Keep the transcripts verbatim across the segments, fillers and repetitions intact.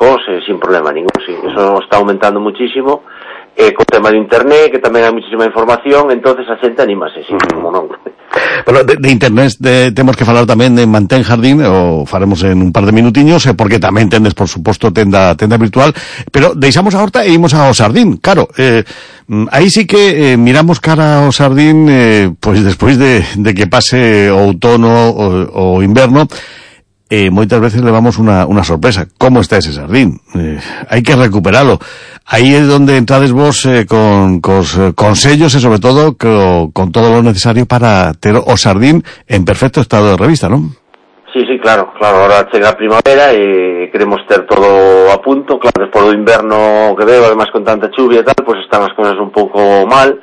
secos, eh, sin problema ningún, sí. Eso está aumentando muchísimo. Eh, co tema de internet, que tamén hai muchísima información, entonces a xente anímase, sí, uh-huh. como non. Bueno, de, de internet de, temos que falar tamén de Mantén Jardín, o faremos en un par de minutiños, eh, porque tamén tendes, por suposto, tenda tenda virtual, pero deixamos a horta e imos ao Sardín, claro, eh, aí sí que eh, miramos cara ao Sardín, eh, pois despois de, de que pase o outono o, o inverno, eh, moitas veces levamos unha, unha sorpresa. Como está ese Sardín? Eh, hai que recuperalo. Aí é onde entrades vos eh, con cos eh, consellos e, sobre todo, co, con todo lo necesario para ter o Sardín en perfecto estado de revista, non? Sí, sí, claro, claro. Ahora chega a primavera e queremos ter todo a punto. Claro, despois do inverno que veo, además con tanta chuvia e tal, pues están as cousas un pouco mal.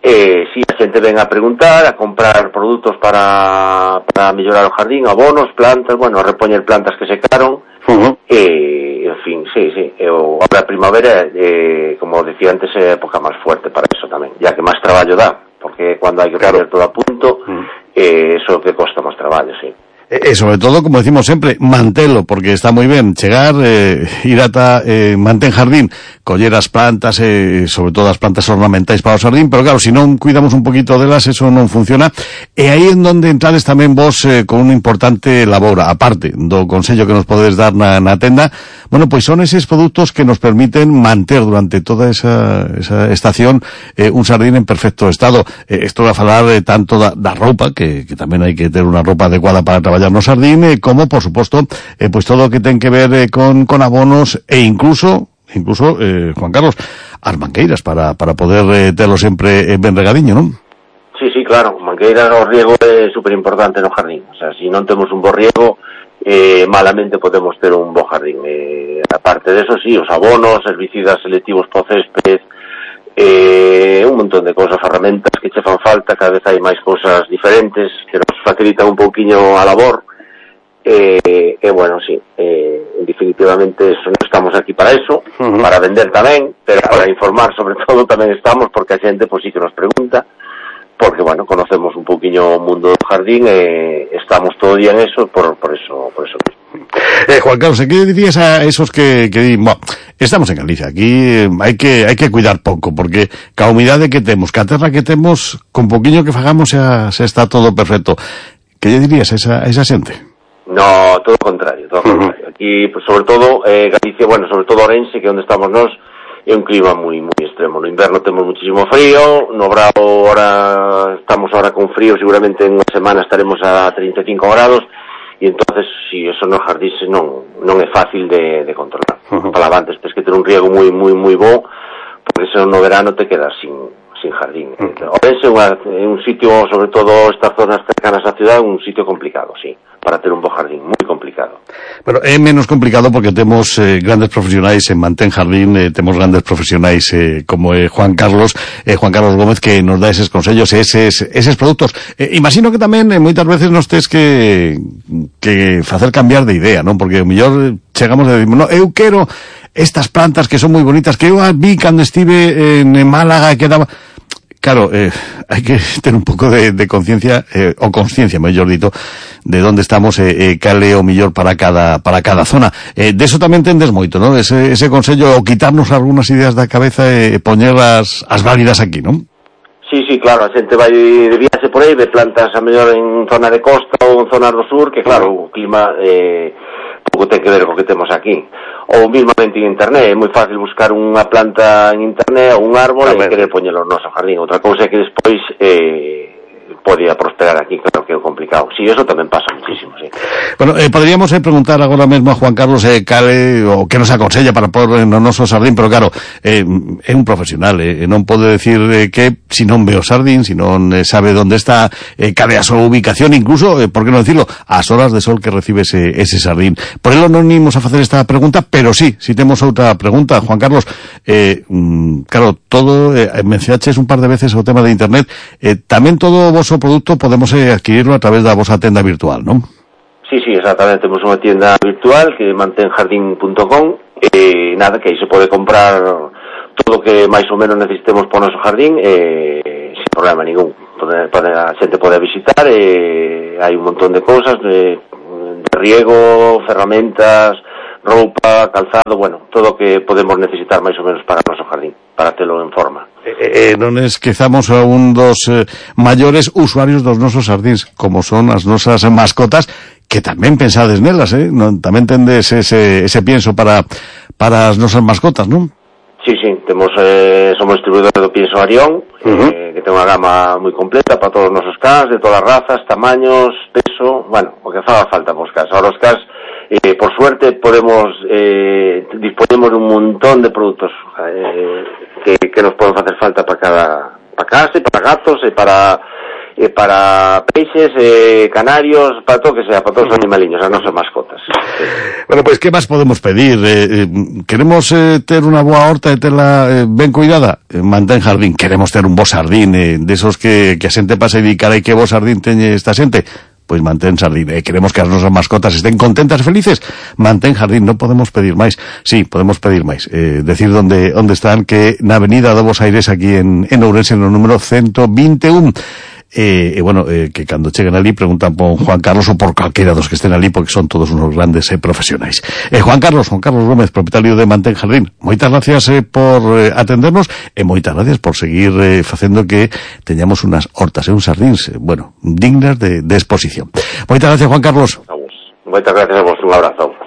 Eh, si, a xente ven a preguntar, a comprar produtos para, para mellorar o jardín, abonos, plantas, bueno, a repoñer plantas que secaron, uh-huh. eh, en fin, sí, sí, e o, a primavera, eh, como decía antes, é a época máis fuerte para eso tamén, ya que máis traballo dá, porque cando hai que claro. poner todo a punto, uh-huh. eh, eso que costa máis traballo, sí. E sobre todo, como decimos sempre, mantelo, porque está moi ben chegar, eh, ir ata eh, Mantén Jardín, coller as plantas, eh, sobre todo as plantas ornamentais para o xardín, pero claro, se si non cuidamos un poquito delas, eso non funciona. E aí en donde entrades tamén vos eh, con unha importante labor, aparte do consello que nos podedes dar na, na tenda, bueno, pois son eses produtos que nos permiten manter durante toda esa, esa estación eh, un xardín en perfecto estado. Eh, esto vai a falar eh, tanto da, da roupa, que, que tamén hai que ter unha roupa adecuada para traballar no xardín, eh, como, por suposto, eh, pues todo o que ten que ver eh, con, con abonos e incluso, incluso eh, Juan Carlos, as mangueiras para, para poder eh, terlo sempre eh, ben regadiño, non? Sí, sí, claro, mangueiras, o riego é super importante no jardín, o sea, se si non temos un bo riego, eh, malamente podemos ter un bo jardín. Eh, aparte de eso, sí, os abonos, herbicidas selectivos para o césped, eh, un montón de cosas, ferramentas que che fan falta, cada vez hai máis cosas diferentes que nos facilitan un pouquiño a labor, e eh, eh, bueno, sí, eh, definitivamente eso, non estamos aquí para eso, uh-huh. para vender tamén, pero para informar sobre todo tamén estamos, porque a xente pois sí que nos pregunta, porque bueno, conocemos un pouquiño o mundo do jardín e estamos todo día en eso, por, por eso por eso mismo. Eh, Juan Carlos, ¿qué dirías a esos que, que di, bueno, estamos en Galicia, aquí eh, hai que hai que cuidar pouco, porque ca humidade que temos, ca terra que temos, con poquinho que fagamos xa, xa está todo perfecto. Que lle dirías a esa, a esa xente? No, todo o contrario, todo o contrario. Uh-huh. Aquí, pues, sobre todo, eh, Galicia, bueno, sobre todo Orense, que é onde estamos nós, é un clima moi moi extremo. No inverno temos muchísimo frío, no brao ahora estamos ahora con frío, seguramente en unha semana estaremos a treinta e cinco grados, e entonces si eso no jardín non non é fácil de, de controlar. Uh-huh. Para antes tens que ter un riego moi moi moi bo, porque se no verano te quedas sin sin jardín. Uh-huh. Orense é un sitio, sobre todo estas zonas cercanas á ciudad, un sitio complicado, sí, para ter un bo jardín, moi complicado. Bueno, é menos complicado porque temos eh, grandes profesionais en Mantén Jardín, eh, temos grandes profesionais eh, como eh, Juan Carlos, eh, Juan Carlos Gómez, que nos dá eses consellos, eses, eses produtos. Eh, imagino que tamén eh, moitas veces nos tes que que facer cambiar de idea, non? Porque o mellor chegamos a decir, no, eu quero estas plantas que son moi bonitas, que eu vi cando estive en Málaga, que daba... Claro, eh, hai que ter un pouco de, de conciencia, eh, o consciencia, mellor dito, de onde estamos e eh, eh, cal é o mellor para cada para cada zona. Eh, de eso tamén tendes moito, non? Ese, ese consello, o quitarnos algunhas ideas da cabeza e eh, poñerlas as válidas aquí, non? Sí, sí, claro, a xente vai de viaxe por aí, ve plantas a mellor en zona de costa ou en zona do sur, que claro, o clima eh, pouco ten que ver co que temos aquí. Ou mismamente en internet, é moi fácil buscar unha planta en internet ou un árbol e querer poñelo no noso jardín. Outra cousa é que despois eh, podía prosperar aquí, claro que é complicado. Sí, eso tamén pasa muchísimo, sí. Bueno, eh, poderíamos eh, preguntar agora mesmo a Juan Carlos eh, cale, o que nos aconsella para pôr no noso xardín, pero claro, eh, é un profesional, eh, non pode decir eh, que si non ve o xardín, si non eh, sabe onde está, eh, cale a súa ubicación, incluso, eh, por que non decirlo, as horas de sol que recibe ese, ese xardín. Por elo non imos a facer esta pregunta, pero sí, si temos outra pregunta, Juan Carlos, eh, mm, claro, todo, eh, mencionaches un par de veces o tema de internet, eh, tamén todo o voso produto podemos eh, adquirirlo a través da vosa tenda virtual, non? Sí, sí, exactamente, temos unha tienda virtual que é mantén jardín punto com, e eh, nada, que aí se pode comprar todo o que máis ou menos necesitemos para o noso jardín, eh, sin problema ningún. Pode, pode, a xente pode visitar, e eh, hai un montón de cousas de, de riego, ferramentas, roupa, calzado, bueno, todo o que podemos necesitar máis ou menos para o noso jardín, para telo en forma. Eh, eh, non esquezamos a un dos eh, maiores usuarios dos nosos jardíns, como son as nosas mascotas, que tamén pensades nelas, eh? Non, tamén tendes ese, ese pienso para, para as nosas mascotas, non? Sí, sí, temos, eh, somos distribuidores do pienso Arión, uh-huh. eh, que ten unha gama moi completa para todos os nosos cans, de todas as razas, tamaños, peso, bueno, o que faga falta pos cans. Ahora os cans, eh, por suerte, podemos, eh, disponemos de un montón de produtos eh, que, que nos poden facer falta para cada, para casa, para gatos, e para, e para peixes, eh, canarios, para todo que sea, para todos os animaliños, as nosas mascotas. Bueno, pues, ¿qué más podemos pedir? Eh, eh, queremos eh, ter unha boa horta e terla eh, ben cuidada? Eh, mantén jardín. Queremos ter un bo sardín, eh, desos que, que a xente pasa e di, carai, que bo sardín teñe esta xente. Pois mantén jardín. Eh, queremos que as nosas mascotas estén contentas e felices. Mantén jardín, non podemos pedir máis. Sí, podemos pedir máis. Eh, decir onde, onde están, que na avenida Dovos Aires, aquí en, en Ourense, no número ciento veintiuno. E, eh, bueno, eh, que cando cheguen ali preguntan por Juan Carlos ou por calquera dos que estén ali, porque son todos unos grandes eh, profesionais. Eh, Juan Carlos, Juan Carlos Gómez, propietario de Mantén Jardín, moitas gracias eh, por eh, atendernos e moitas gracias por seguir eh, facendo que teñamos unas hortas e eh, uns jardíns, eh, bueno, dignas de, de exposición. Moitas gracias, Juan Carlos. Moitas gracias a vos, un abrazo.